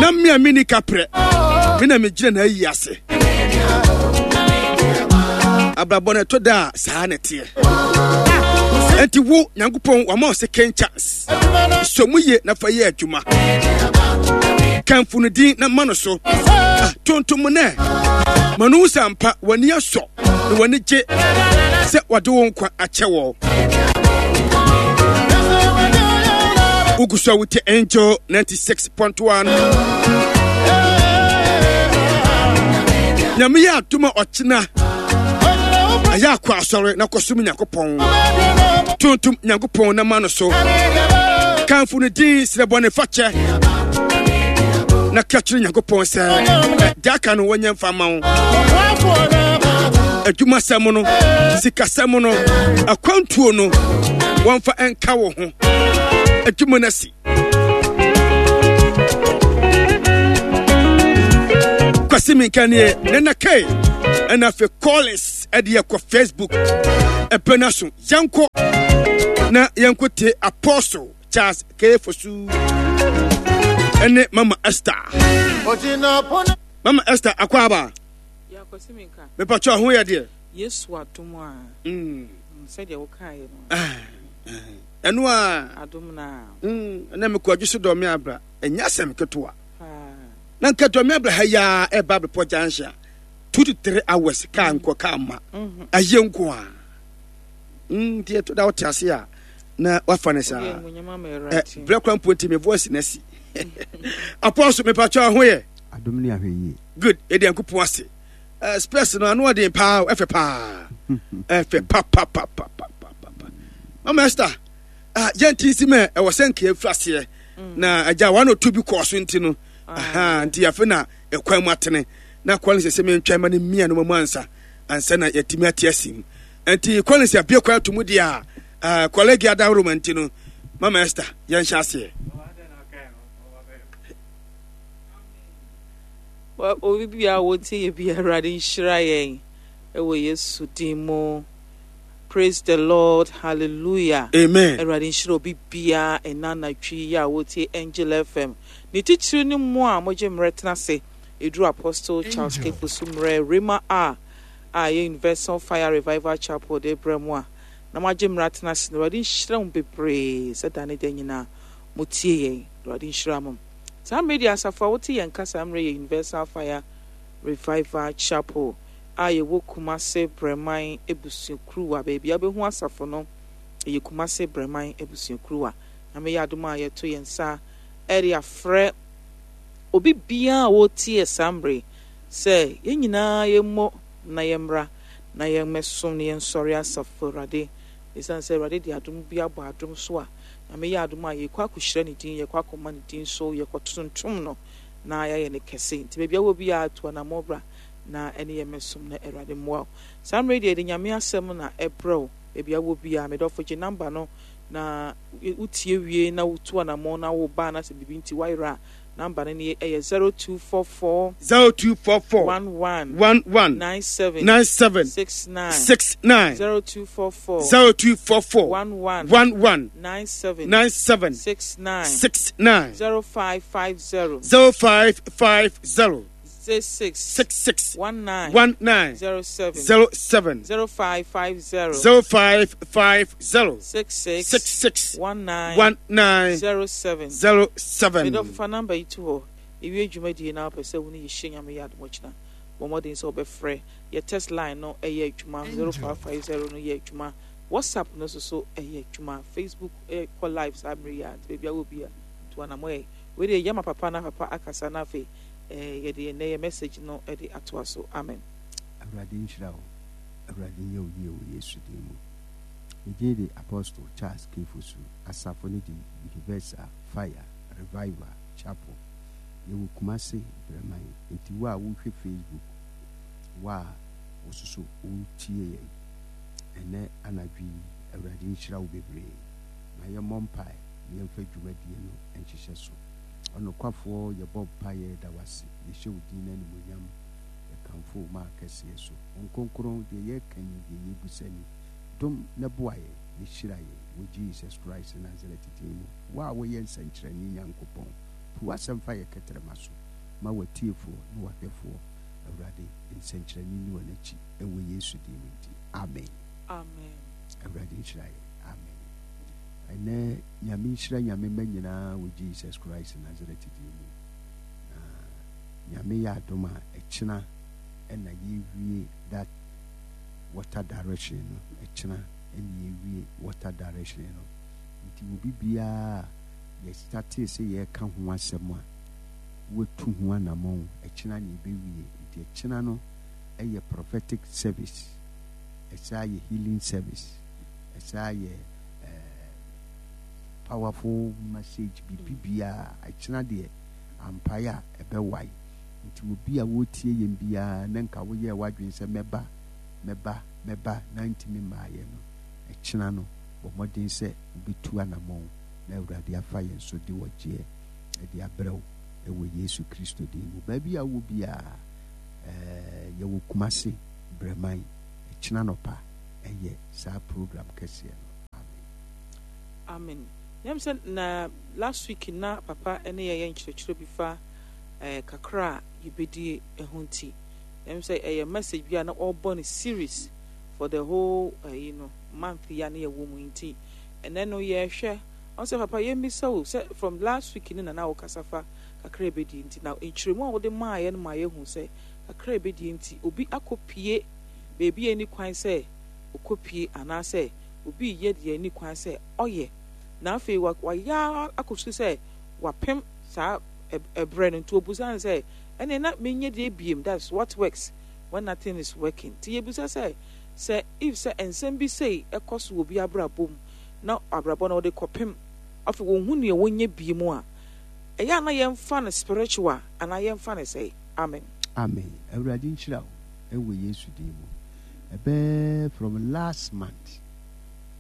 Na me a menni kaprɛ, me na megyina n'ayi ase. Abrabɔ no ɛtɔ da a saa na ɛteɛ. Enti wo Nyankopɔn wama wo second chance. Sɔ mu yie na fa yɛ adwuma. Kamfo no din na ma no so. Ah, tontom nɛ. Ma no hu sɛ ampa w'ani asɔ na w'ani gye sɛ wɔde wo nkwa akyɛ wɔ. Wogu so a wote Angel 96.1. Nyame yɛ adom a ɔkyena ɛyɛ akɔ asɔre na kɔsom Nyankopɔn. Tontom Nyankopɔn na ma no so. Kamfo no din srɛ bɔne fakyɛ na ka kyerɛ Nyankopɔn sɛ deɛ aka no wɔnyɛ mfa ma wo. Adwumasɛm no, sikasɛm no, akwantuo no, wɔmfa nka wo ho. Adwuma no asi. Kwasi Minka nie, Nana K, ɛna afei Collins ɛde yɛkɔ Facebook ɛpɛ no so. Yɛnkɔ na yɛnkɔ tie Apostle Charles K. Fosu ɛne Mama Esther. Mama Esther akɔ aba. Mepatwa ho yɛ deɛ. Yesu adom a. Sɛdeɛ wokaeɛ no. Ɛno a. Adom na. Ɛna mekɔ adwo so dɔ me abra. Ɛnyɛ asɛm ketewa. Na nka dɔ me abra ha yi a ɛba bepɔ junction a 2 to 3 hours kaa nkɔ kaa ma. Ayɛ nko a. Nti ɛtɔ da wote ase a na wafa no saa. Berɛ kora mpo nti me voice na asi. Apostle mepatwa ho yɛ. Adom ne ahwɛ yie. Good. Yɛde Nyankopɔn ase. Spurs no ano ɔden paa ɛfɛ paa. Ɛfɛ papapapapapa. Mama Esther, yɛnti nsi mɛ ɛwɔ sɛ nka yɛfiri aseɛ. Na agya one or two bi kɔɔ so nti no. Aha, nti afe na ɛkwan mu atene. Na Collins sɛ mentwɛn ma no mmia no mu ansa ansa na yɛatumi ate asi mu. Nti Collins abie kwan ato mu deɛ a kɔlɛgi adaworoma nti no Mama Esther yɛnhyɛ aseɛ. Obi biara a wɔtie yɛ biara, Awurade nhyira yɛn wɔ Yesu din mu. Praise the Lord, hallelujah. Amen. Awurade nhyira obi biara ɛna anadwo yi a wɔtie Angel FM. Ne titiriw ne mo a mogye mmerɛ tena ase ɛduru Apostle Charles K. Fosu mmerɛ Rhema a a ɛyɛ Universal Fire Revival Chapel de brɛ mo a na moagye mmerɛ atena ase no. Awurade nhyira mo bebree sɛ da ne da nyinaa motie yɛn. Awurade nhyira mo. Saa mmerɛ yi deɛ asafo a wote yɛn nka saa mmerɛ yɛ Universal Fire Revival Chapel a yɛwɔ Kumase Brɛman Abusuakuruwa. Baabi a wobɛhu asafo no ɛyɛ Kumase Brɛman Abusuakuruwa. Nyame yɛ adom a yɛto yɛn nsa de afrɛ obi biara a ɔretie saa mmerɛ yi sɛ yɛn nyinaa yɛmmɔ na yɛmmra na yɛmmɛsom na yɛnsɔre asafo Awurade. Esiane sɛ Awurade de adom bi abɔ adom so a, Nyame yɛ adom a, yɛkɔ akɔhyira ne din, yɛkɔ akɔma ne din so, yɛkɔtontom no na yɛayɛ no kɛse. Nti baabi a wɔ biara, tu anammɔn bra na ɛne yɛn mmɛsom na Awurade mmoa wo. Saa mmerɛ yi deɛ, yɛde Nyame asɛm na ɛbrɛ wo. Baabi a wɔ biara, me dɔfo, gye number no na wotie wie na wotu anammɔn na woba anaasɛ biribi nti woayera a, Number no nie, ɛyɛ 0244. 0244. 11. 11. 97. 97. 69. 69. 0244. 0244. 11. 11. 97. 97. 69. 69. 0550. 0550. 66. 66. 19. 19. 07. 07. 0550. 0550. 66. 66. 19. 19. 07. 07. Medɔfo fa number yi to hɔ. Ewie dwumadie na wopɛ sɛ wo ne yɛ hyia Nyame yɛ adom ɔkyena. Bɔ mmɔden sɛ wobɛfrɛ. Yɛ text line no ɛyɛ adwuma 0550 no yɛ adwuma. WhatsApp no nso so ɛyɛ adwuma. Facebook ɛkɔ live saa mmere yi a nti baabi a wɔ bi a tu anamɔ ɛ. Wei deɛ yɛma papa na papa akasa na afei eh, yɛde ɛnɛ yɛ message no de atoa so. Amen. Awurade nhyira wo. Awurade nyɛ wo yie wɔ Yesu din mu. Me din de Apostle Charles K. Fosu. Asafo no de Universal Fire Revival Chapel. Yɛwɔ Kumasi Brɛman. Nti wo a wohwɛ Facebook, wo a wososo wotie yɛn ɛnɛ anadwo yi, Awurade nhyira wo bebree. Ma yɛmmɔ mpae na yɛmfa dwumadie no nhyehyɛ so. Ɔnokwafoɔ, yɛbɔ mpaeɛ da wo ase, yɛhyɛ wo din no animuonyam, yɛkamfo wo ma kɛseɛ so. Honhom Kronkron, deɛ yɛreka ni, deɛ yɛrebisa ni, dom na boa yɛn, na hyira yɛn, wɔ Jesus Christ Nazareth din mu. Wo a woyɛ nsɛnkyerɛnne Nyankopɔn, po. Tu w'asɛm fa yɛ kɛtrɛma so ma w'atiefoɔ ne w'ahwɛfoɔ, Awurade, nsɛnkyerɛnne nni wɔn akyi, ɛwɔ Yesu din mu nti, amen. Amen. Awurade nhyira yɛn. Amen. Ɛnɛ Nyame nhyira Nyame mma nyinaa wɔ Jesus Christ Nazareth din mu. Na Nyame yɛ adom a ɛkyena ɛna yɛwie that water direction no. Ɛkyena ɛna yɛwie water direction no. Nti obi biara a yɛ startee sɛ yɛreka ho asɛm a watu ho anamɔn, ɛkyena na yɛbɛwie. Nti ɛkyena no ɛyɛ prophetic service, ɛsaa yɛ healing service, ɛsaa yɛ eh, powerful message, biribi biara. Ɛkyena deɛ ampae a ɛbɛwae. Nti obi a wɔretie yɛn biara na nka woyɛɛ w'adwene sɛ mɛba, mɛba, mɛba na ntumi mmaeɛ no, ɛkyena no bɔ mmɔden sɛ wobɛtu anammɔn na Awurade afa yɛn so de ɔgyeɛ de abrɛ wo wɔ Yesu Kristo din mu. Baabi a wowɔ biara, eh, yɛwɔ Kumasi, Brɛman, ɛkyena nɔpa ɛyɛ saa program kɛseɛ no. Amen. Amen. Nyam sɛ na last week na papa ne yɛyɛ nkyerɛkyerɛ bi fa eh, kakra a yɛbɛdie ho nti. Nyam sɛ ɛyɛ message bi a na ɔrebɔ no series for the whole eh, you know, month yi a na yɛwɔ mu nti ɛnɛ no yɛrehwɛ ɔn sɛ papa yɛmmisa wo sɛ from last week no na na wokasa fa kakra a yɛbɛdie nti na nkyerɛmu a wode maaeɛ no ma yɛhu sɛ kakra a yɛbɛdie nti obi akɔpie baabi a ɛnni kwan sɛ ɔkɔpie anaasɛ obi reyɛ deɛ ɛnni kwan sɛ ɔyɛ na afei wayɛ ara akɔsu sɛ wapem saa ɛberɛ no nti ɔbusa no sɛ ɛnneɛ na menyɛ deɛ biem, that's what works when nothing is working. Nti yɛbusa sɛ Sɛ if sɛ nsɛm bi sei kɔ so wɔ obi abrabɔ mu na abrabɔ no ɔde kɔpem afei wɔnhu nea wɔnyɛ biem a, ɛyɛ a na yɛmfa no spiritual anaa yɛmfa no sɛe? Amen. Amen Awurade nhyira wo wɔ Yesu din mu. Ɛbɛɛ from last month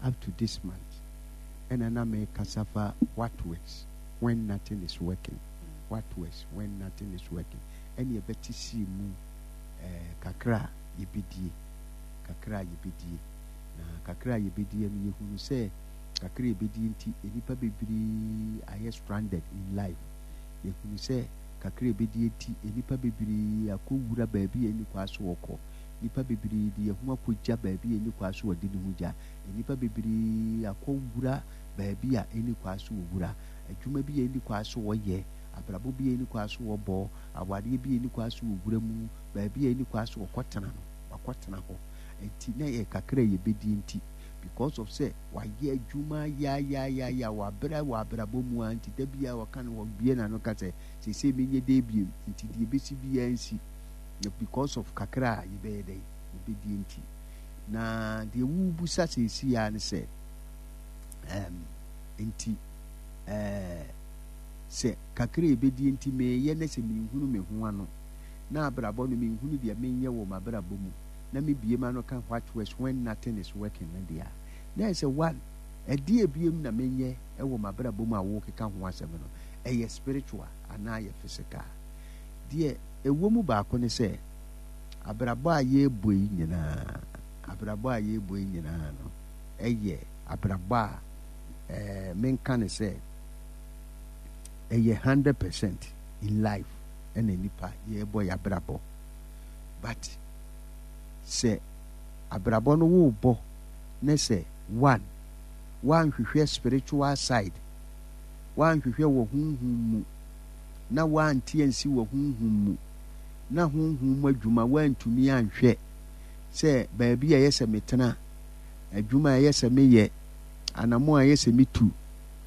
up to this month ɛna na me kasa fa what works when nothing is working, what works when nothing is working ɛne ɛbɛte sii mu eh, kakra a yɛbɛdie, kakra a yɛbɛdie. Na kakra a yɛbɛdie no, yɛhunu sɛ kakra a yɛbɛdie nti, nnipa bebree ayɛ stranded in life. Yɛhunu sɛ kakra a yɛbɛdie nti, nnipa bebree akɔwura baabi a ɛnni kwan so wɔkɔ. Nnipa bebree de yɛn ho akɔgya baabi a ɛnni kwan so wɔde ne ho gya. Nnipa bebree akɔwura baabi a ɛnni kwan so wɔwura. Adwuma bi a ɛnni kwan so wɔyɛ, abrabɔ bi a ɛnni kwan so wɔbɔ, awareɛ bi a ɛnni kwan so wɔwura mu, baabi a ɛnni kwan sɛ ɔkɔtena no, wakɔtena hɔ. Nti na ɛyɛ kakra a yɛbɛdi nti, because of sɛ wayɛ adwuma yaayaayaya, wabrɛ wɔ abrabɔ mu ara nti, da biara ɔka no, ɔbue n'ano ka sɛ, seesei menyɛ dɛn bio, nti deɛ ɛbɛsi biara nsi. Na because of kakra a yɛbɛyɛ dɛn, yɛbɛdi nti. Na deɛ wobusa seesei ara ne sɛ, um, nti, eh, sɛ kakra a yɛbɛdi nti meyɛ na sɛ menhunu me ho ano, na abrabɔ no menhunu deɛ menyɛ wɔ m'abrabɔ mu na me bue m'ano ka what works when nothing is working no deɛ a, na ɛyɛ sɛ one, ɛdeɛ biom na menyɛ wɔ m'abrabɔ mu a worekeka ho asɛm no, ɛyɛ spiritual anaa ɛyɛ physical? Deɛ ɛwɔ mu baako ne sɛ, abrabɔ a yɛrebɔ yi nyinaa, abrabɔ a yɛrebɔ yi nyinaa no, ɛyɛ abrabɔ a ɛɛ menka ne sɛ ɛyɛ 100% in life. ɛna nipa yɛbɔ yabrabɔ but sɛ abrabɔ no wo bɔ ne sɛ one woanhwehwɛ spiritual side woanhwehwɛ wɔ honhom mu na woante ansi wɔ honhom mu na honhom mu adwuma woantumi anhwɛ sɛ baabi a ɛyɛ sɛ metena adwuma a ɛyɛ sɛ meyɛ anamo a ɛyɛ sɛ metu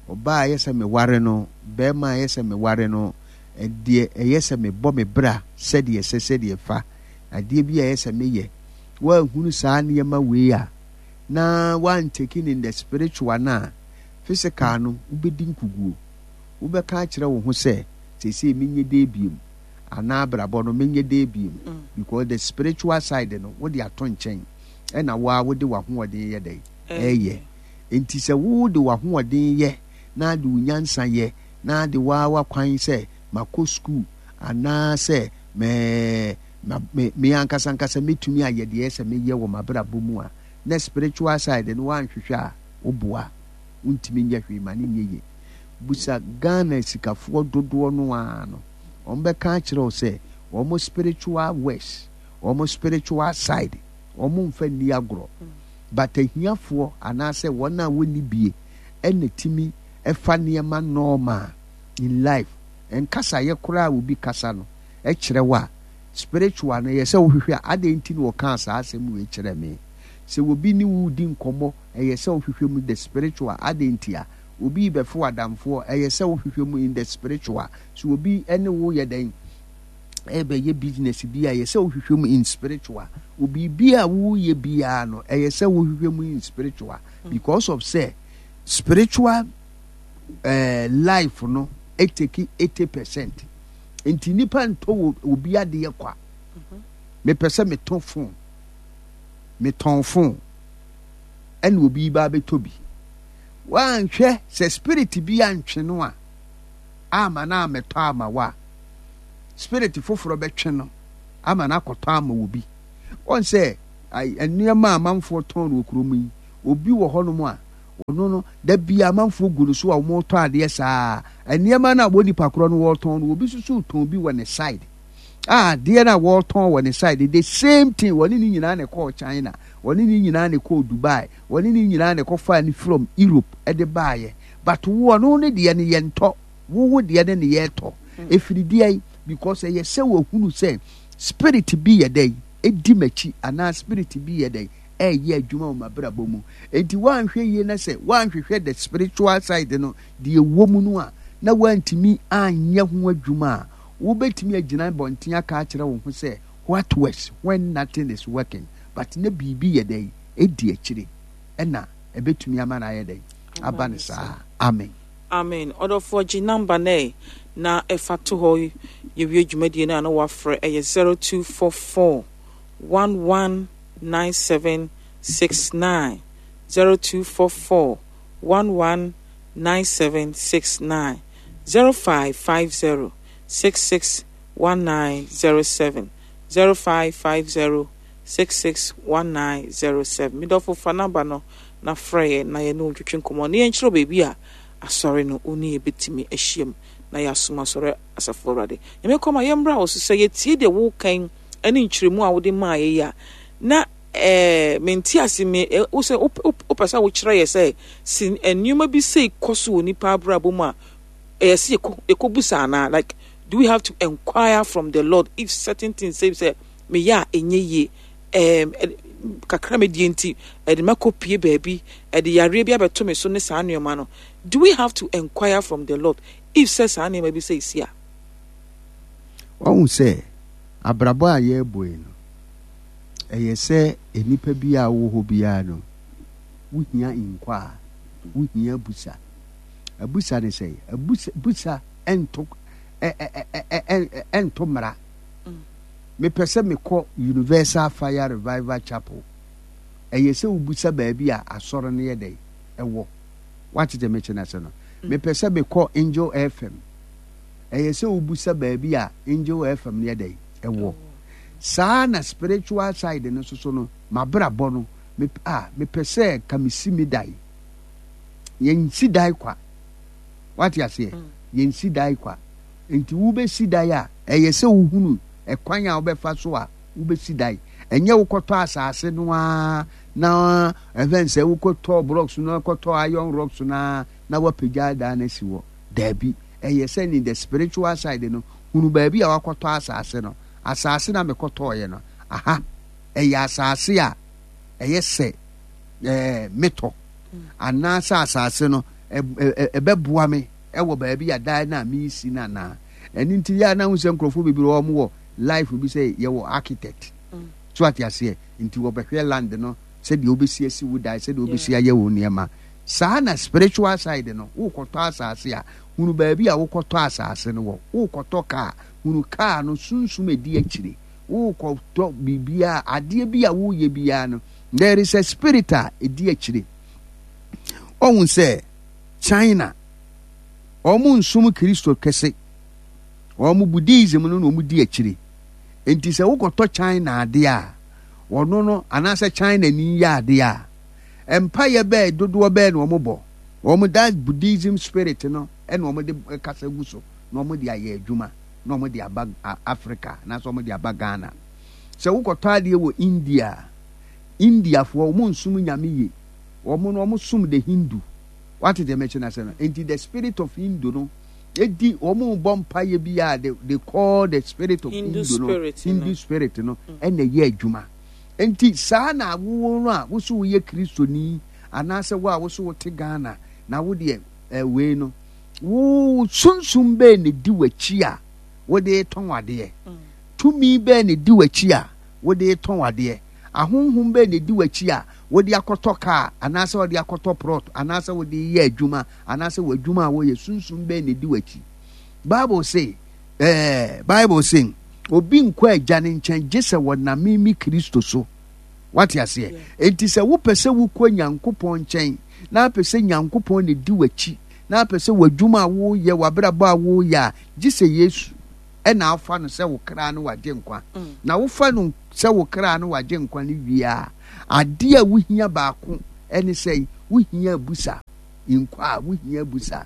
ɔbaa a ɛyɛ sɛ meware no bɛrima a ɛyɛ sɛ meware no Deɛ ɛyɛ sɛ mebɔ me bra sɛdeɛ ɛsɛ, sɛdeɛ ɛfa, adeɛ bi a ɛyɛ sɛ meyɛ. Woanhunu saa nneɛma wei a, na woantake no in the spiritual no a, physical no, wobɛdi nkuguo. Wobɛka akyerɛ wo ho sɛ, seesei menyɛ dɛn biom? Anaa abrabɔ no, menyɛ dɛn biom? Because the spiritual side no, wode ato nkyɛn, ɛna wo ara wode w'ahoɔden yɛ dɛn? Ɛyɛ. Enti sɛ wode w'ahoɔden yɛ na de wo nyansa yɛ, na de wo ara w'akwan sɛ makɔ sukuu anaa sɛ me, me, me ankasa ankasa mɛtumi ayɛ deɛ ɛsɛ meyɛ wɔ m'abrabɔ mu a, na spiritual side no woanhwehwɛ a, woboa. Wontumi nyɛ hwee ma no nyɛ yie. Busa Ghana asikafoɔ dodoɔ no ara no, wɔbɛka akyerɛ wo sɛ wɔn spiritual works, wɔn spiritual side, wɔn mfa nni agorɔ. But ahiafoɔ anaasɛ wɔn a wɔnni bie ɛna tumi fa nneɛma normal in life. Nkasaeɛ koraa a obi kasa no kyerɛ wo a, spiritual no ɛyɛ sɛ wohwehwɛ a adɛn nti na ɔkaa saa asɛm wei kyerɛ me? Sɛ obi ne wo redi nkɔmmɔ ɛyɛ sɛ wohwehwɛ mu the spiritual adɛn nti a? Obi rebɛfo adamfoɔ ɛyɛ sɛ wohwehwɛ mu in the spiritual. Sɛ obi ne wo yɛ dɛn ɛbɛyɛ business bi a ɛyɛ sɛ wohwehwɛ mu in spiritual. Obi a woyɛ biara no ɛyɛ sɛ wohwehwɛ mu in spiritual because of sɛ spiritual life no eteki 80%. Nti nipa ntɔ wɔ obi adeɛ kwa. Mepɛ sɛ metɔ phone. Metɔn phone. Ɛna obi ba abɛtɔ bi. Woanhwɛ sɛ spirit bi antwe no a ama no ammɛtɔ ama wo a, spirit foforɔ bɛtwe no ama no akɔtɔ ama obi. Wɔn sɛ nneɛma a amanfoɔ tɔn no wɔ kurom yi, obi wɔ hɔnom a ɔno no da bi amanfoɔ gu no so a wɔretɔ adeɛ saa. Nneɛma no a wɔ nipa korɔ no wɔretɔn no, obi nso so retɔn bi wɔ ne side. A adeɛ no a wɔretɔn wɔ ne side, the same thing, wɔne ne nyinaa na ɛkɔɔ China, wɔne ne nyinaa na ɛkɔɔ Dubai, wɔne ne nyinaa na ɛkɔfaa no from Europe de baeɛ. But wo ɔno ne deɛ no yɛntɔ, wo wo deɛ no ne yɛtɔ. Ɛfiri deɛ because ɛyɛ sɛ wɔhunu sɛ spirit bi yɛ dɛn ɛdi m'akyi anaa spirit bi yɛ dɛn ɛreyɛ adwuma wɔ m'abrabɔ mu. Enti woanhwɛ yie na sɛ woanhwehwɛ the spiritual side no deɛ ɛwɔ mu no a na woantumi anyɛ ho adwuma a, wobɛtumi agyina bɔnten aka akyerɛ wo ho sɛ what works when nothing is working, but na biribi yɛ dɛn ɛdi akyire ɛna ɛbɛtumi ama no ayɛ dɛn aba no saa. Amen. Amen. Ɔdɔfoɔ gye number no ɛ na ɛfa to hɔ yɛwie dwumadie no a na wafrɛ ɛyɛ 0244 119769 0244 119769 0550 661907 0550 661907. Me dɔfo fa number no na frɛ yɛn na yɛne wo ntwetwe nkɔmmɔ na yɛnkyerɛ wo baabi a asɔre no wo ne yɛn bɛtumi ahyiam na yɛasom asɔre asafo Awurade. Nyame kɔma yɛmmra wo so sɛ yɛtie deɛ woka yi ne nkyerɛmu a wode maa yɛ yi a na ɛɛ mente ase me wo sɛ wopɛ sɛ wokyerɛ yɛ sɛ si nneɛma bi sei kɔ so wɔ nipa abrabɔ mu a ɛyɛ sɛ yɛkɔ yɛkɔbusa anaa, like do we have to enquire from the Lord if certain things say sɛ meyɛ a ɛnyɛ yie ɛɛm kakra medie nti ɛde makɔ pie baabi ɛde yareɛ bi abɛto me so ne saa nneɛma no, do we have to enquire from the Lord if sɛ saa nneɛma bi sɛ esi a? Wahu sɛ abrabɔ a yɛrebɔ yi no, ɛyɛ sɛ nnipa bi a wowɔ hɔ biara no, wohia nkwa a, wohia abusa. Abusa ne sɛ, abusa busa ɛnto ɛnto mmara. Mepɛ sɛ mekɔ Universal Fire Revival Chapel. Ɛyɛ sɛ wobusa baabi a asɔre no yɛ dɛn ɛwɔ. Woate deɛ mekyɛ no ase no? Mepɛ sɛ mekɔ Angel FM. Ɛyɛ sɛ wobusa baabi a Angel FM no yɛ dɛn ɛwɔ. Saa na spiritual side no nso so no, m'abrabɔ no, me, ah, mepɛ sɛ ka mesi me dan. Yɛnsi dan kwa. Wate aseɛ? Yɛnsi dan kwa. Nti wobɛsi dan a, ɛyɛ sɛ wohunu ɛkwan a wobɛfa so a wobɛsi dan. Ɛnyɛ wokɔtɔ asase no ara na ɛfɛn sɛ wokɔtɔ blocks no, kɔtɔ iron rocks no ara na woapagya dan no asi hɔ. Daabi. Ɛyɛ sɛ in the spiritual side no, hunu baabi a wakɔtɔ asase no. Asase na mekɔtɔɔeɛ no, aha, ɛyɛ asase a ɛyɛ sɛ ɛɛ metɔ anaasɛ asase no ɛbɛboa me ɛwɔ baabi a dan no a meresi no anaa. Ɛno nti yɛ a na wohu sɛ nkurɔfoɔ bebree wɔn wɔ life bi sɛ yɛwɔ architect. So ate aseɛ? Nti wɔbɛhwɛ land no sɛdeɛ wobɛsi asi wo dan, sɛdeɛ wobɛsi ayɛ wo nneɛma. Saa na spiritual side no, wokɔtɔ asase a, hunu baabi a wokɔtɔ asase no wɔ. Wokɔtɔ kaa, hunu kaa no sunsum ɛdi akyire. Wokɔtɔ biribiara, adeɛ bi a woyɛ biara no, there is a spirit a ɛdi akyire. Ɔhu sɛ China, wɔn nsom Kristo kɛse. Wɔn Buddhism no na wɔn di akyire. Nti sɛ wokɔtɔ China adeɛ a, wɔno no anaasɛ China ni yɛ adeɛ a, mpaeɛ bɛɛ dodoɔ bɛɛ na wɔn bɔ. Wɔn that Buddhism spirit no. ɛna wɔde kasa gu so na wɔde ayɛ adwuma na wɔde aba Africa anaasɛ wɔde aba Ghana. Sɛ wokɔtɔ adeɛ wɔ India a, Indiafoɔ wɔn nsom nyame yie. Wɔn no wɔn som the Hindu. Wate deɛ mɛkyɛ no ase no? Nti the spirit of Hindu no edi wɔn bɔ mpaeɛ bi a they call the spirit of Hindu, Hindu no Hindu spirit no ɛna ɛyɛ adwuma. Nti saa na wo no a woso woyɛ Kristoni anaasɛ wo a woso wote Ghana na wo deɛ wei no wo sunsum bɛɛ na di w'akyi a wode tɔn adeɛ. Tumi bɛn na edi w'akyi a wode retɔn adeɛ? Ahonhom bɛn na edi w'akyi a wode akɔtɔ kaa anaasɛ wode akɔtɔ prɔt anaasɛ wode reyɛ adwuma anaasɛ w'adwuma a woyɛ sunsum bɛn na edi w'akyi? Bible se, ɛɛ, Bible se, obi nkɔ agya no nkyɛn gye sɛ wɔnam me Kristo so. Wate aseɛ? Enti sɛ wopɛ sɛ wokɔ Nyankopɔn nkyɛn na apɛ sɛ Nyankopɔn na edi w'akyi na apɛ sɛ w'adwuma a woyɛ, w'abrabɔ a woyɛ a, gye sɛ Yesu. na afa no sɛ wo kra ne w'agyenkwa, na wofa no sɛ wo kra ne w'agyenkwa no wie a, adeɛ a wohia baako ne sɛ wohia abusa nkwa a wohia abusa.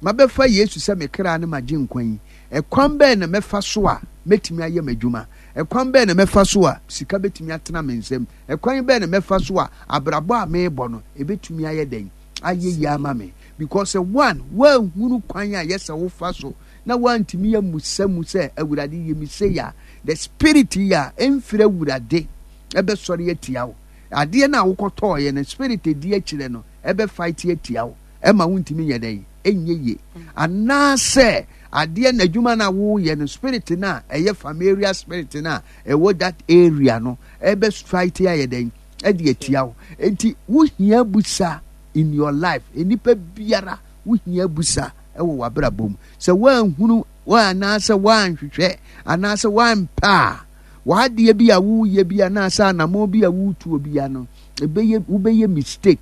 Mabɛfa Yesu sɛ me kra ne m'agyenkwa yi, ɛkwan bɛn na mɛfa so a mɛtumi ayɛ m'adwuma? Ɛkwan bɛn na mɛfa so a sika bɛtumi atena me nsam? Ɛkwan bɛn na mɛfa so a abrabɔ a merebɔ no ɛbɛtumi ayɛ dɛn? Ayɛ yie ama me? Because one, woanhunu kwan a yɛ sɛ wofa so na woantumi ammisa mu sɛ, Awurade, yɛ me sei a, the spirit yi a ɛmfiri Awurade ɛbɛsɔre atia wo. Adeɛ no a wokɔtɔɔeɛ no, spirit ɛdi akyirɛ no ɛbɛ fight atia wo, ɛma wontumi nyɛ dɛn? Ɛnyɛ yie. Anaasɛ adeɛ no adwuma no a woyɛ no, spirit no a ɛyɛ familiar spirit no a ɛwɔ that area no ɛbɛ fight ayɛ dɛn? Ɛde atia wo. Enti wohia busa in your life. Nnipa biara wohia busa wɔ w'abrabɔ mu. Sɛ woanhunu anaasɛ woanhwehwɛ anaasɛ woampɛ a, w'adeɛ bi a woreyɛ bi anaasɛ anammɔn bi a woretuo bi no, ɛbɛyɛ wobɛyɛ mistake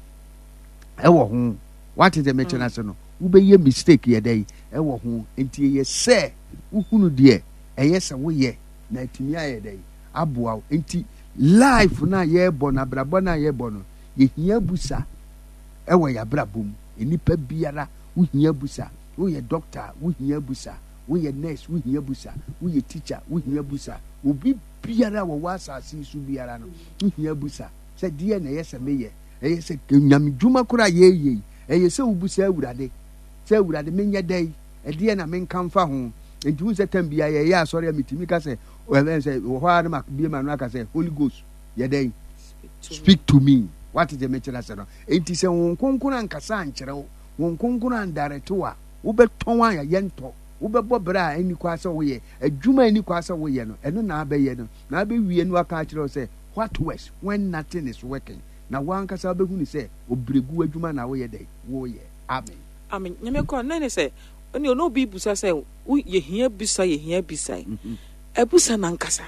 ɛwɔ ho. Wate deɛ mekyerɛ ase no? Wobɛyɛ mistake yɛ dɛn ɛwɔ ho. Nti ɛyɛ sɛ wohunu deɛ ɛyɛ sɛ woyɛ na atumi ayɛ dɛn aboa wo. Nti life no a yɛrebɔ no, abrabɔ no a yɛrebɔ no, yɛhia busa ɛwɔ yɛn abrabɔ mu. Nnipa biara wo hia busa. Woyɛ doctor a, wo hia busa. Woyɛ nurse, wo hia busa. Woyɛ teacher, wo hia busa. Obi biara a wɔwɔ asase yi so biara no, wo hia busa sɛ deɛ na ɛyɛ sɛ meyɛ. Ɛyɛ sɛ nyame dwuma koraa a yɛyɛ yi, ɛyɛ sɛ wobusa Awurade sɛ Awurade menyɛ dɛn? Ɛdeɛ na menka mfa ho? Nti wohu sɛ tam biara yɛyɛ asɔre a metumi ka sɛ, sɛ wɔ hɔ ara na mabue m'ano aka sɛ Holy Ghost yɛ dɛn? Speak to me. Wate deɛ mekyerɛ ase no? Enti sɛ Honhom Kronkron ankasa ankyerɛ wo, Honhom Kronkron andarete wo a, wobɛtɔn a yɛntɔ, wobɛbɔ bra a ɛnni kwan sɛ woyɛ, adwuma a ɛnni kwan sɛ woyɛ no, ɛno na abɛyɛ no, na abɛwie no aka akyerɛ wo sɛ, what works when nothing is working? Na wo ankasa wobɛhunu sɛ ɔbrɛgu adwuma na woyɛ dɛn? Woyɛ. Amen. Amen. Nyame kɔ na ne sɛ ɛne ɔne obi busa sɛ wo yɛhia bisa yɛhia bisa yi. Abusa nankasa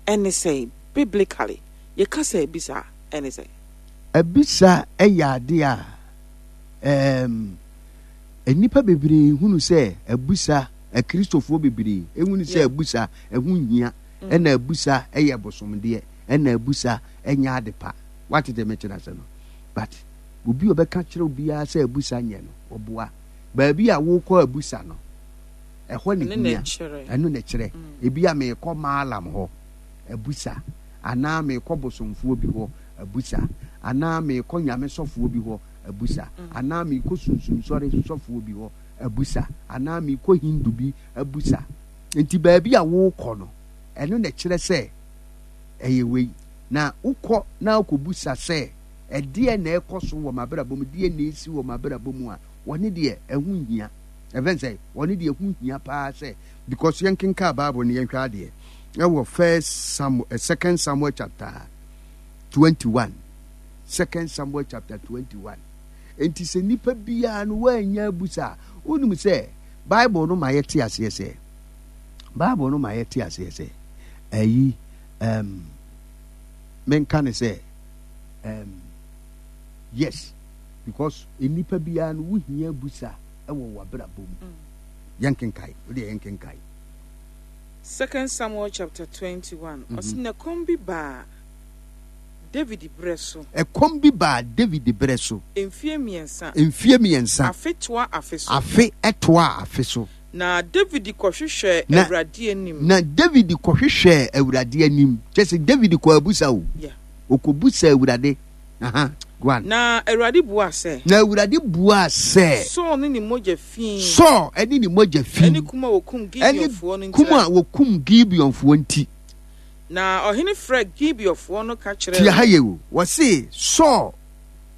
ɛne sɛ biblically yɛka sɛ abisa a ɛne sɛ. Abisa yɛ ade a ɛɛm nnipa bebree hunu sɛ abusa, Akristofoɔ bebree hunu sɛ abusa ɛho nhia, mm. ɛna abusa ɛyɛ bosomdeɛ, ɛna abusa ɛnyɛ ade pa. Wate deɛ mekyerɛ ase no? But obi a ɔbɛka kyerɛ obiara sɛ abusa nyɛ no, ɔboa. Baabi a wokɔ abusa no, ɛhɔ ne hia. Ɛno na ɛkyerɛ. Mm. Ebi a meekɔ maalam hɔ abusa, anaa meekɔ bosomfoɔ bi hɔ abusa, anaa meekɔ nyame sɔfoɔ bi hɔ abusa, anaa meekɔ sunsumsɔre sɔfoɔ bi hɔ abusa, anaa meekɔ Hindu bi abusa. Nti baabi a wokɔ no, ɛno na ɛkyerɛ sɛ ɛyɛ wei. Na wokɔ na wokɔbusa sɛ, ɛdeɛn na ɛrekɔ so wɔ m'abrabɔ mu, deɛn na ɛresi wɔ m'abrabɔ mu a, wɔne deɛ ɛho nhia. Ɛfɛn sɛ, wɔne deɛ ɛho hia paa sɛ, because yɛnkenkan Bible no yɛnhwɛ adeɛ ɛwɔ First Samuel, eh, Second Samuel chapter 21. Second Samuel chapter 21. Enti sɛ nipa biara no woannya abusa a, wonim sɛ Bible no ma yɛte aseɛ sɛ Bible no ma yɛte aseɛ sɛ ayi um, menka ne sɛ um, yes because nipa biara no wohia abusa wɔ w'abrabɔ mu. Mm. Yɛnkenkae, wodeɛ yɛnkenkae. Second Samuel chapter 21. Mm -hmm. Ɔsɛ na kɔm bi baa. David berɛ so. Ɛkɔm bi baa David berɛ so. Mfeɛ mmiɛnsa. Mfeɛ mmiɛnsa. Afe toa afe so. Afe toaa afe so. Na David kɔhwehwɛɛ Awurade anim. Na David kɔhwehwɛɛ Awurade anim. Kyerɛ sɛ David kɔɔ abusa o. Yeah. Ɔkɔbusaa Awurade. Aha, go on. Na Awurade buaa sɛ. Na Awurade buaa sɛ. Saul ne ne mogya fi. Saul ne ne mogya fi. Ɛne kum a wɔkum Gibeonfoɔ no nti. Kum a wɔkum Gibeonfoɔ nti. Na ɔhene frɛɛ Gibeonfoɔ no ka kyerɛɛ Tie ha yie o. Wɔse Saul,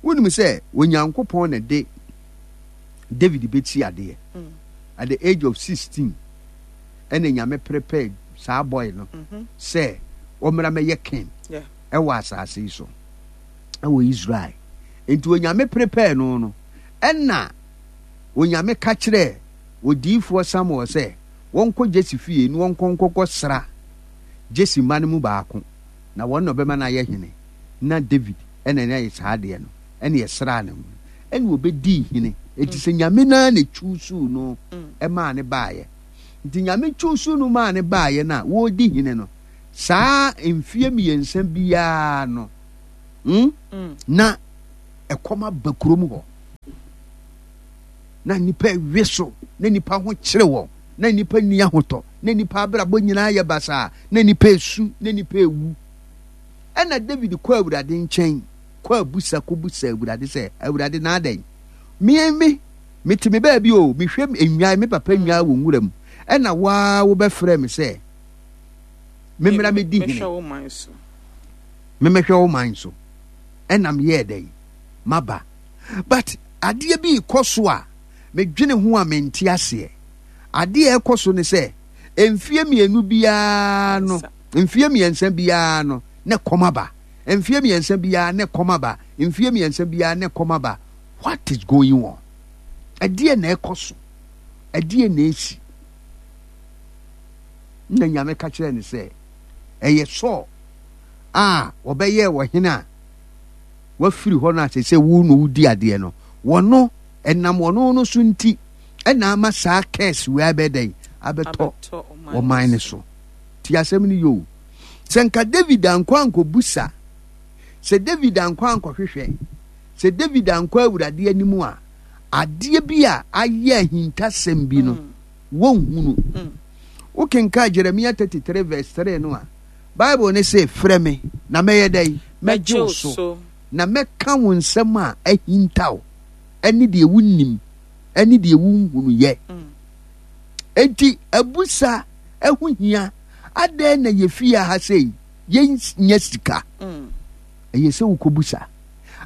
wonim sɛ Onyankopɔn na ɛde David bɛsi adeɛ. Mm. At the age of 16, ɛna Nyame prepare saa boy no mm -hmm. sɛ ɔmmra mɛyɛ king ɛwɔ asase yi so ɛwɔ Israel. Nti Onyame prepare no no, ɛna Onyame ka kyerɛɛ odiyifoɔ Samuel sɛ wɔnkɔ Jesse fie na wɔnkɔ nkɔkɔ sra Jesse mma no mu baako, na wɔn na ɔbɛma no ayɛ hene. Na David na na ɛyɛ saa adeɛ no, ɛna ɛsraa ne ho, ɛna ɔbɛdii hene. Enti sɛ Nyame no ara na ɛchuusuu no maa no baeɛ. Nti Nyame chuusuu no maa no baeɛ no a, wɔredi hene no, saa mfeɛ mmiɛnsa biara no, hmm, na ɛkɔm aba kurom hɔ. Na nnipa we so, na nnipa ho kyere wɔn, na nnipa nni ahotɔ, na nnipa abrabɔ nyinaa yɛ basaa, na nnipa esu, na nnipa ewu. Ɛnna Dawid kɔɔ Awurade nkyɛn kɔɔ abusa kɔbisaa Awurade sɛ, Awurade, na adɛn? Me, me, mete me baabi o, mehwɛ nnwan, me papa nnwan wɔ nwura mu, ɛnna wo ara wobɛfrɛɛ me sɛ memmra mɛdi hene, memmɛhwɛ wo man so. Ɛnna meyɛɛ dɛn? Maba. But adeɛ bi rekɔ so a medwene ho a mente aseɛ. Adeɛ a ɛrekɔ so ne sɛ, mfeɛ mmienu biara no, Mfeɛ mmiɛnsa biara no, na ɛkɔm aba. Mfeɛ mmiɛnsa biara, na ɛkɔm aba. Mfeɛ mmiɛnsa biara, na ɛkɔm aba. What is going on? Ɛdeɛ na ɛkɔ so? Ɛdeɛ na ɛsi? Na Nyame ka kyerɛ no sɛ, ɛyɛ Saul a wɔbɛyɛɛ ɔhene a wafiri hɔ no a sɛ wo na wodi adeɛ no, wɔno ɛnam wɔno no so nti ɛna ama saa curse wei abɛdɛn abɛtɔ ɔman no so. Tie asɛm no yie o. Sɛ nka David ankɔ ankɔbusa, sɛ David ankɔ ankɔhwehwɛ, sɛ David ankɔ Awurade anim a, adeɛ bi a ayɛ ahintasɛm bi no, mm. wɔnhunu. Mm. Wokenkan Jeremia 33 verse 3 no a, Bible ne se, frɛ me na mɛyɛ dɛn? Mɛgye wo so, na mɛka wo nsɛm a ahintaw ɛne deɛ wonnim ɛne deɛ wonhunu yɛ. Mm. Enti abusa ɛho hia. Adɛn na yɛ fie ha sei yɛnnya sika? Mm. Ɛyɛ sɛ wokɔbusa.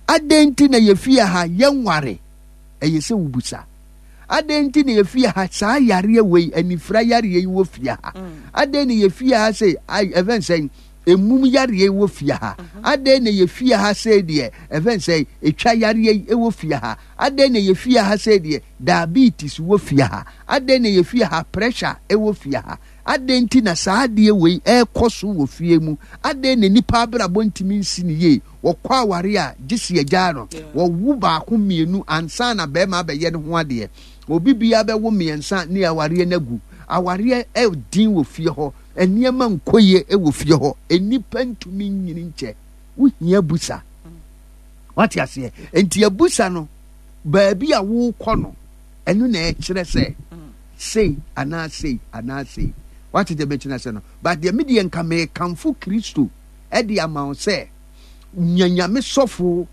Adɛn nti na yɛ fie ha yɛnware? Ɛyɛ sɛ wobusa. Adɛn nti na yɛ fie ha saa yareɛ wei anifira yareɛ yi wɔ fie ha? Mm. Adɛn na yɛ fie ha sei ɛfɛn sɛn emum yareɛ wɔ fie ha? Mm-hmm. Adɛn na yɛ fie ha sei deɛ ɛfɛn sɛn etwa yareɛ yi wɔ fie ha? Adɛn na yɛ fie ha sei deɛ Diabetes wɔ fie ha? Adɛn na yɛ fie ha pressure wɔ fie ha? Adɛn nti na saa adeɛ wei ɛrekɔ so wɔ fie mu? Adɛn na nipa abrabɔ ntumi nsi no yie? Wɔkɔ aware a, gye sɛ yɛgyaa no. Wɔwo baako mmienu ansa na barima abɛyɛ ne ho adeɛ. Obi biara bɛwo mmiɛnsa ne awareɛ no agu. Awareɛ ɛden wɔ fie hɔ. Nneɛma nkɔ yie wɔ fie hɔ. Nnipa ntumi nyini nkyɛ. Wohia abusa. Wate aseɛ? Nti abusa no, baabi a worekɔ no, ɛno na ɛkyerɛ sɛ sei anaa sei anaa sei. Wate deɛ mekyerɛ sɛ no? But deɛ me deɛ nka mekamfo Kristo de ama wo sɛ nya Nyame sɔfo,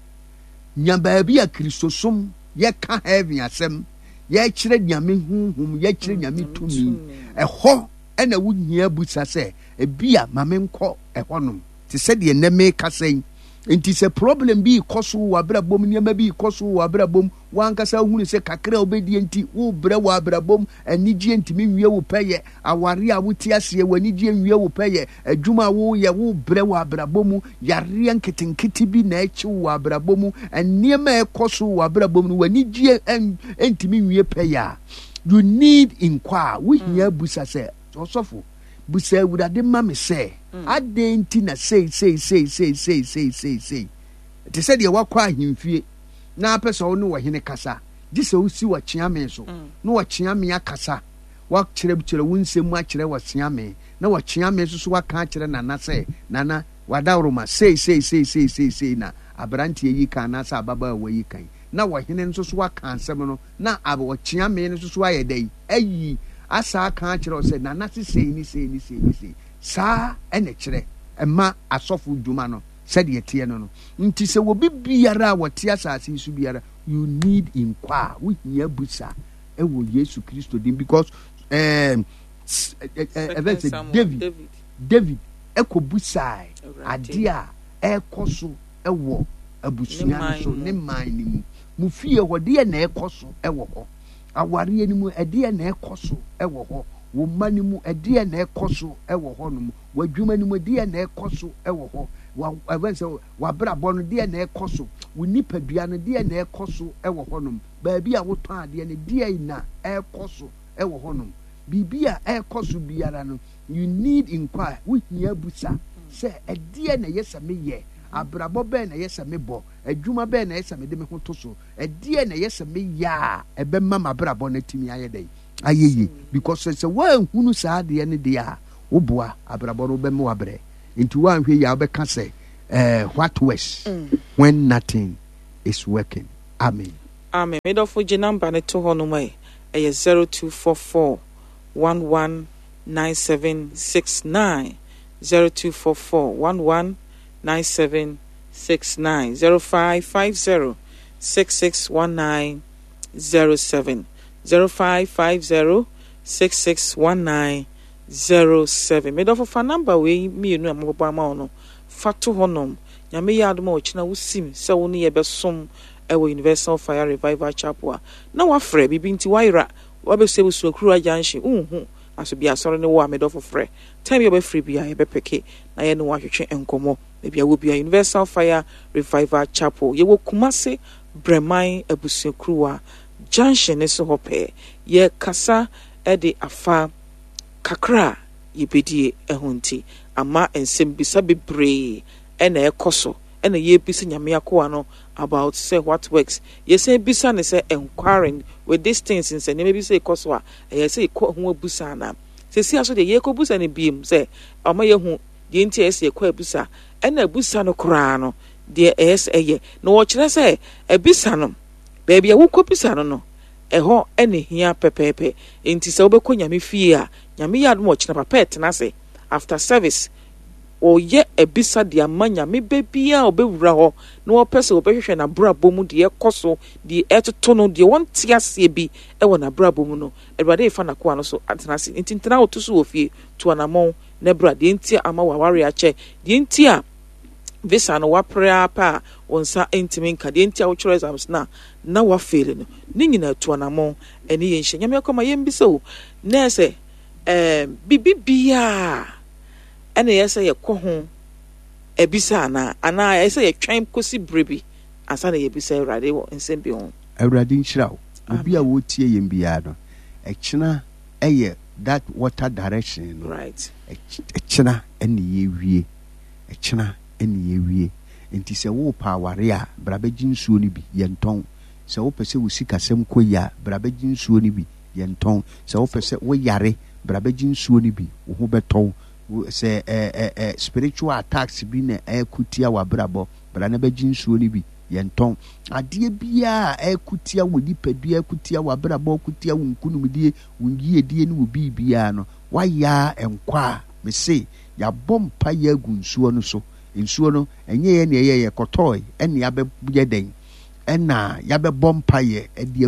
nya baabi a Kristosom yɛka heaven asɛm, yɛkyerɛ Nyame honhom, yɛkyerɛ Nyame tumi. Ɛhɔ ɛna wohia busa sɛ ebia ma menkɔ ɛhɔnom te sɛ deɛ nnɛ mekasa yi. Nti sɛ problem bi rekɔ so wɔ w'abrabɔ mu, nneɛma bi rekɔ so wɔ w'abrabɔ mu, w'ankasa wohunu sɛ kakra a wobɛdie nti worebrɛ wɔ abrabɔ mu, anigyeɛ ntumi nwie wo pɛyɛ, awareɛ a wote aseɛ, w'anigyeɛ nwie wo pɛyɛ, adwuma a woreyɛ, worebrɛ wɔ abrabɔ mu, yareɛ nketenkete bi na ɛkye wo wɔ abrabɔ mu, nneɛma a ɛkɔ so wɔ w'abrabɔ mu no, w'anigyeɛ ntumi nwie pɛyɛ a, you need nkwa a wohia abusa sɛ, ɔsɔfo, Bisa Awurade ma me sɛ, adɛn nti na sei sei sei sei sei sei sei sei? Te sɛ deɛ woakɔ ahemfie na apɛ sɛ wo ne ɔhene kasa, gye sɛ wosi ɔkyeame so na ɔkyeame akasa, woakyerɛkyerɛ wo nsɛm mu akyerɛ ɔkyeame, na ɔkyeame nso so aka akyerɛ Nana sɛ, Nana, W'adaworoma, sei, sei, sei, sei, sei, sei na aberanteɛ yi ka anaasɛ ababaawa yi ka yi, na ɔhene nso so aka asɛm no, na ɔkyeame no nso so ayɛ dɛn? Ayi asa aka akyerɛ wo sɛ, Nana se sei ne sei ne sei ne sei. Saa na ɛkyerɛ ɛma asɔfo dwuma no sɛdeɛ ɛteɛ no no. Nti sɛ obi biara a wɔte asase yi so biara, you need nkwa a, wohia busa ɛwɔ Yesu Kristo din because ɛɛ ɛfɛ sɛ David David ɛkɔbusae adeɛ a ɛrekɔ so wɔ abusua no so ne man no mu. Mo fie hɔ, deɛ na ɛrekɔ so wɔ hɔ? Awareɛ no mu, ɛdeɛ na ɛrekɔ so wɔ hɔ? Wo mma no mu, ɛdeɛ na ɛrekɔ so wɔ hɔ nom? W'adwuma no mu, ɛdeɛ na ɛrekɔ so wɔ hɔ? Ɛfɛn sɛ w'abrabɔ no, deɛ na ɛrekɔ so? Wo nipadua no, deɛ na ɛrekɔ so wɔ hɔ nom? Baabi a wotɔn adeɛ no, deɛ na ɛrekɔ so wɔ hɔ nom? Biribi a ɛrekɔ so biara no, You need inquire, wo hia busa sɛ ɛdeɛn na ɛyɛ sɛ me yɛ, abrabɔ bɛn na ɛyɛ sɛ me bɔ, adwuma bɛn na ɛyɛ sɛ mede me ho to so, ɛdeɛn na ɛyɛ sɛ me yɛ a ɛbɛma m'abrabɔ no atumi ayɛ dɛn, ayɛ yie. Because sɛ woanhunu saa adeɛ no deɛ a, woboa abrabɔ no wobɛma wabrɛ. Nti woanhwɛ yie a wobɛka sɛ eh, what works when nothing is working. Amen. Amen me dɔfo gye number no to hɔ nom ɛ ɛyɛ 0244 11 9769 0244 11 9769 0550 6619 07 0550 6619 07 Me dɔfo fa number wei mmienu a mabobɔ ama wo no fa to hɔ nom. Nyame yɛ adom a ɔkyena wosim sɛ wo ne yɛ bɛsom wɔ Universal Fire Revival Chapel a na wafrɛ biribi nti wayera Wabɛsua abusua kuruwa junction wonhu aso bia asɔre no wɔ a medɔfo frɛ time bia wobɛfrɛ bia yɛbɛpeke na yɛne wo atwetwe nkɔmmɔ baabi a wɔ bia Universal Fire Revival Chapel yɛwɔ Kumase Brɛman abusua kuruwa junction no so hɔ pɛɛ yɛkasa de afa kakra a yɛbɛdie ho nti ama nsɛmbisa bebree na ɛkɔ so na yɛrebisa Nyame akoa no about sɛ what works. Yɛsan bisa no sɛ enquiring with these things nsɛ nneɛma bi sɛ ɛkɔ so a ɛyɛ sɛ yɛkɔ ho abusa anaa. Sɛsi aso deɛ yɛrekɔbusa no biem sɛ ɔma yɛhu deɛ nti a ɛyɛ sɛ yɛkɔ abusa ɛna abusa no koraa no deɛ ɛyɛ sɛ ɛyɛ. Na wɔkyerɛ sɛ abisa no baabi a wokɔbisa no no ɛhɔ na ɛhia pɛpɛɛpɛ. Enti sɛ wobɛkɔ Nyame fie a Nyame yɛ adom a ɔkyena papa ɛtena ase after service Wɔyɛ abisa de ama Nyame ba biara a ɔbɛwura hɔ na ɔpɛ sɛ ɔbɛhwehwɛ n'abrabɔ mu deɛ ɛkɔ so, deɛ ɛtoto no, deɛ ɔnte aseɛ bi wɔ n'abrabɔ mu no, Awurade refa n'akoa no so atena ase. Nti ntena wo to so wɔ fie, tu anamɔn na bra. Deɛ nti a ama w'awareɛ akyɛ, deɛ nti a visa no wapere ara pɛ a wo nsa ntumi nka, deɛ nti a wotwerɛ exams no a na wafeeli no, ne nyinaa tu anamɔn ɛne yɛn nhyia. Nyame akoa ma yɛmbisa o, nɛɛ sɛ ɛɛ biribi biara ɛna ɛyɛ sɛ yɛkɔ ho abisa anaa? Anaa ɛyɛ sɛ yɛtwɛn kosi bere bi ansa na yɛabisa Awurade wɔ nsɛm bi ho? Awurade nhyira wo. Obi a ɔretie yɛn biara no, ɛkyena yɛ that water direction no. Right. Ɛkyena ɛna yɛwie. Ɛkyena ɛna yɛwie. Nti sɛ worepɛ aware a, bra bɛgye nsuo no bi, yɛntɔn. Sɛ wopɛ sɛ wo sikasɛm kɔ yie a, bra bɛgye nsuo no bi, yɛntɔn. Sɛ wopɛ sɛ woyare, bra bɛgye nsuo no bi, wo ho bɛtɔ wo. Sɛ ɛ ɛ ɛ spiritual attacks bi na ɛreko tia w'abrabɔ, bra na bɛgye nsuo no bi, yɛntɔn. Adeɛ biara a ɛreko tia wo nipadua, ɛreko tia w'abrabɔ, ɛreko tia wo nkunimdie, wo yiedie ne wo biribiara no, woayɛ ara nkɔ a, mese yɛabɔ mpaeɛ agu nsuo no so. Nsuo no, ɛnyɛ yɛn na ɛyɛeɛ, yɛkɔtɔɔe ɛna yɛabɛyɛ dɛn? Ɛna yɛabɛbɔ mpaeɛ de agu.